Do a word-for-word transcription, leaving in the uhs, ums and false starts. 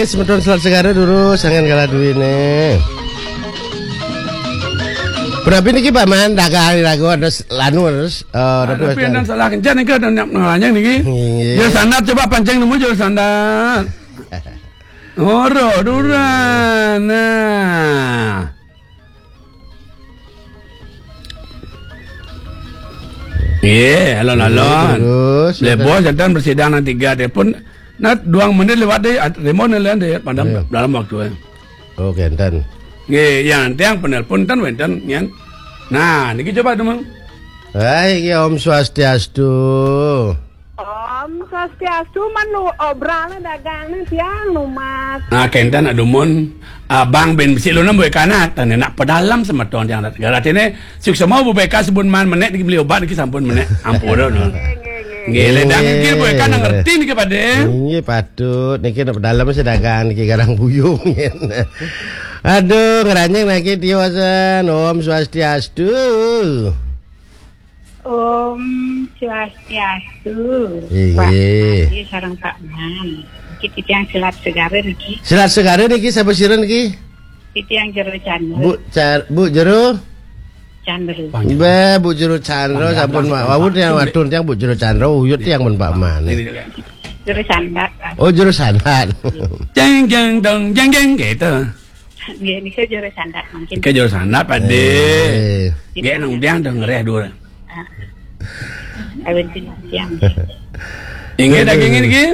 Semeton Selat Segara durus, sangan kalah duwine. Berarti niki Pak Man dagang ragu ada s- lanu terus. Eh, tapi Tapi enten salah kencang niki ada nak ngelanjang niki. Iya. Jero sandat coba pancing nemu jero sandat. Ora, duran. Nah. Iya, alon-alon. Terus, Lebo jantan bersidang nang tiga telepon. Nah, dua menit lewat deh, at- Raymond lain deh, padam Iya. dalam waktu eh. Oh, kenten. Nggih, yang tiang penelpon ten wenten yang. Nah, niki coba teman. Hai, ya Om Swastiastu. Om Swastiastu, man lu obralnya dagang nih tiang lu mas. Nah, kenten adumun. Abang ben besi lu nembus kanat, tane nak pedalam semeton tiang dat. Garat ini sukses mau bebeka sebun man menek dibeli obat niki sampun menek. Ampun no. Nggih, le dang nggih, Bu Eka nang ngerti niki pade. Nggih, patut. Niki nak dalam sedagang niki garang buyung. Aduh, ngeranyeng niki tiosan. Om Swastiastu. Om Swastiastu. Inggih. Pak Haji sareng Pak Man. Niki titiang Selat Segara niki. Selat Segara niki sapa sira niki? Titiang Jero Chandra. Bu Car Bu Jero? Chandra. Mbah, Bu Jero Chandra sampun Mak wau tiang wadon tiang Bu Jero Chandra uyut tiang pun Pak Man. Ini kan. Jero Sandat. Oh, Jero Sandat. Jeng jeng dong jeng jeng gitu. Nggih, nika Jero Sandat mungkin. Ke jero sandat pade. Eh. Nggih nang tiang dong ngereh dulu. Ah. Awin tiang. Inggih daging niki.